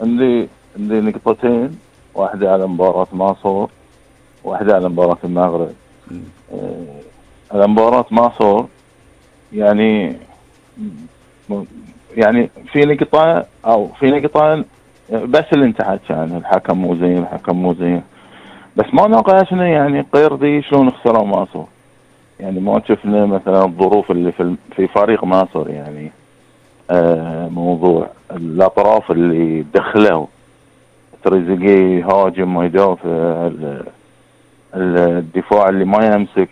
عندي نقطتين، واحدة على مباراة مصر، واحدة على مباراة المغرب. على مباراة مصر يعني في نقطة أو في نقطتين بس اللي انت حكي عنها، الحكم مو زين، الحكم مو زين، بس ما ناقشنا يعني قيردي شلون خسروا مصر. يعني ما شفنا مثلا الظروف اللي في فريق مصر، يعني موضوع الأطراف اللي دخلوا، تريزيجيه يهاجم ويدافع، الدفاع اللي ما يمسك،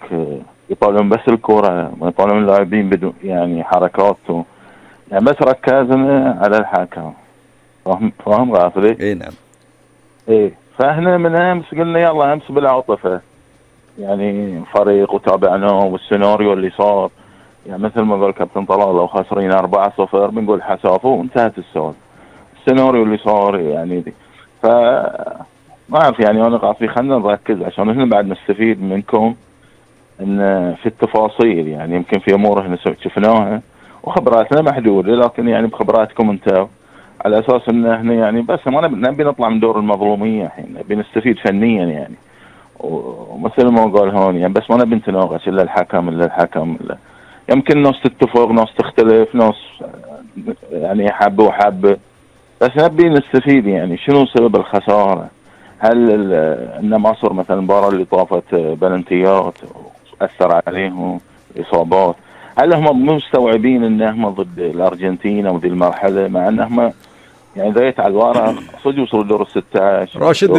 يطالعون بس الكرة، ما يطالعون اللاعبين بدون يعني حركاته، يعني بس ركزنا على الحكم. فاهم غافلي؟ اي نعم. ايه، فاحنا من امس قلنا يلا امس بالعاطفة يعني فريق وتابعناه، والسيناريو اللي صار يعني مثل ما قال كابتن طلال، لو خاسرين 4-0 بنقول حسافه وانتهت السالفة. السيناريو اللي صار يعني دي، ف ما اعرف يعني انا قاعد خلينا نركز عشان احنا بعد نستفيد منكم ان في التفاصيل. يعني يمكن في امور احنا شفناها وخبراتنا محدوده، لكن يعني بخبراتكم انتم على اساس ان احنا يعني بس ما نبي نطلع من دور المظلوميه، الحين نبي نستفيد فنيا يعني. ومثل ما قال هون يعني بس ما نبي نتناقش الا الحكم الا الحكم إلا. يمكن ناس تتفق، ناس تختلف، ناس يعني حبه وحبه، بس نبي نستفيد يعني شنو سبب الخساره. هل ان مصر مثلا المباراه اللي طافت بلنتيات اثر عليهم اصابات، هل هم مو مستوعبين ان هم ضد الارجنتين او ذي المرحله، مع ان هم يعني ذيت على الورق صدق وصلوا دور ال 16. راشد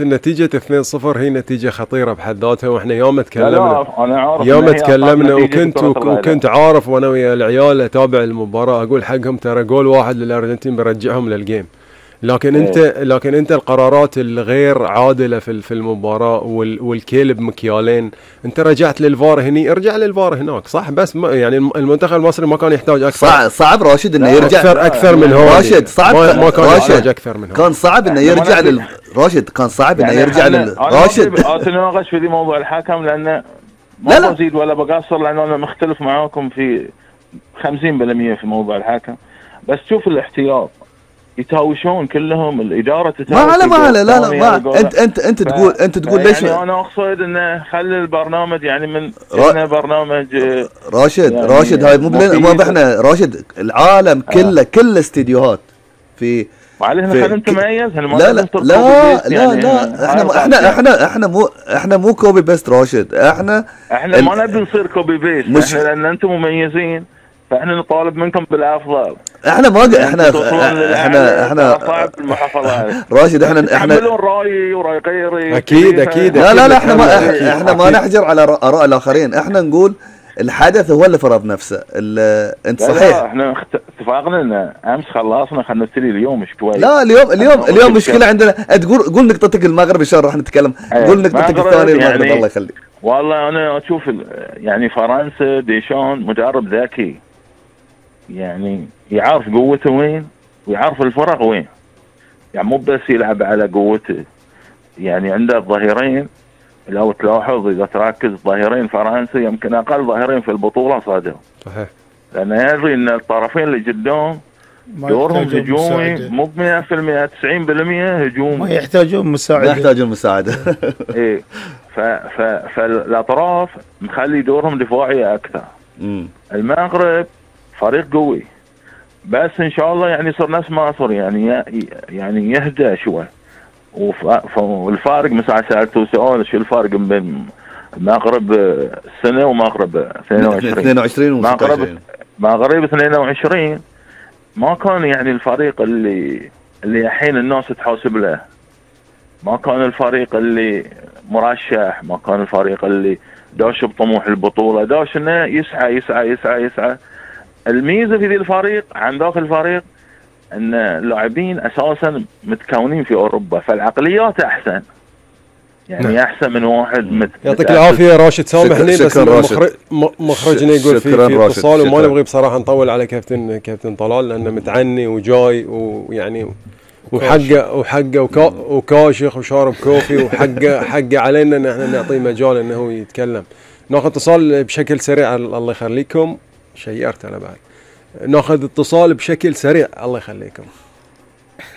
النتيجة 2-0 هي نتيجة خطيرة بحد ذاتها، واحنا يوم تكلمنا لا انا عارف يوم تكلمنا وكنت عارف وانا ويا العيال اتابع المباراة اقول حقهم ترى جول واحد للارجنتين بيرجعهم للجيم. لكن انت القرارات الغير عادله في المباراه والكيل بمكيالين، انت رجعت للفار هني، ارجع للفار هناك صح. بس يعني المنتخب المصري ما كان يحتاج اكثر. صعب راشد انه يرجع اكثر من هون. راشد صعب ما كان يحتاج اكثر من هون. كان صعب انه يرجع راشد كان صعب انه يرجع راشد اتناقش في موضوع الحكم لانه ما بزيد ولا بقصر، لانه انا مختلف معاكم في 50% في موضوع الحكم. بس شوف الاحتياط يتهاوشون كلهم، الاداره تتهاوش. ما على لا انت تقول ليش يعني انا اقصد انه خلي البرنامج يعني من برنامج راشد يعني راشد هاي مو احنا راشد العالم كله كل استديوهات في معلش خلينا نتميز. لا احنا مو كوبي بيست راشد. احنا ما نبي نصير كوبي بيست، لان انتم مميزين فاحنا نطالب منكم بالافضل. احنا صعب المحافظات راشد احنا يعملون رايي وراي غيري اكيد لا احنا ما نحجر على اراء الاخرين. احنا نقول الحدث هو اللي فرض نفسه. انت صحيح. لا احنا اتفقنا ان امس خلصنا، خلينا نبتدي اليوم شوي. لا اليوم مشكله عندنا. قول نقطتك المغرب ان شاء الله راح نتكلم. قول نقطتك الثانيه المغرب. يعني الله يخليك. والله انا اشوف يعني فرنسا ديشان مدرب ذكي، يعني يعرف قوته وين ويعرف الفرق وين، يعني مو بس يلعب على قوته. يعني عنده الظهيرين لو تلاحظ اذا تركز، ظهيرين فرنسا يمكن اقل ظهيرين في البطوله صادوا. صحيح. لانه يدري ان الطرفين اللي قدام دورهم هجومي مو ب 100%، 90% هجومي، ما يحتاجون مساعده. ايه، فالاطراف مخلي دورهم دفاعي اكثر. المغرب فريق قوي، بس ان شاء الله يعني يصير نفس مصر، يعني يهدى شوي. والفارق مثلا سألته سؤال شو الفارق بين المغرب السنة ومغرب 22 مغرب 22 ما كان يعني الفريق اللي الحين الناس تحاسب له، ما كان الفريق اللي مرشح، ما كان الفريق اللي داش بطموح البطولة، داش انه يسعى يسعى يسعى يسعى. الميزة في ذي الفريق عن ذاك الفريق ان اللاعبين اساسا متكونين في اوروبا، فالعقليات احسن، يعني احسن من واحد يعطيك العافيه راشد. سامحني بس مخرجنا يقول في اتصال وما نبغي بصراحه نطول على كابتن طلال لانه متعني وجاي ويعني وحقه وكاشخ وشارب كوفي وحقه علينا ان احنا نعطيه مجال انه يتكلم. ناخذ اتصال بشكل سريع. الله يخليكم. شيرت انا بعد. ناخذ اتصال بشكل سريع. الله يخليكم.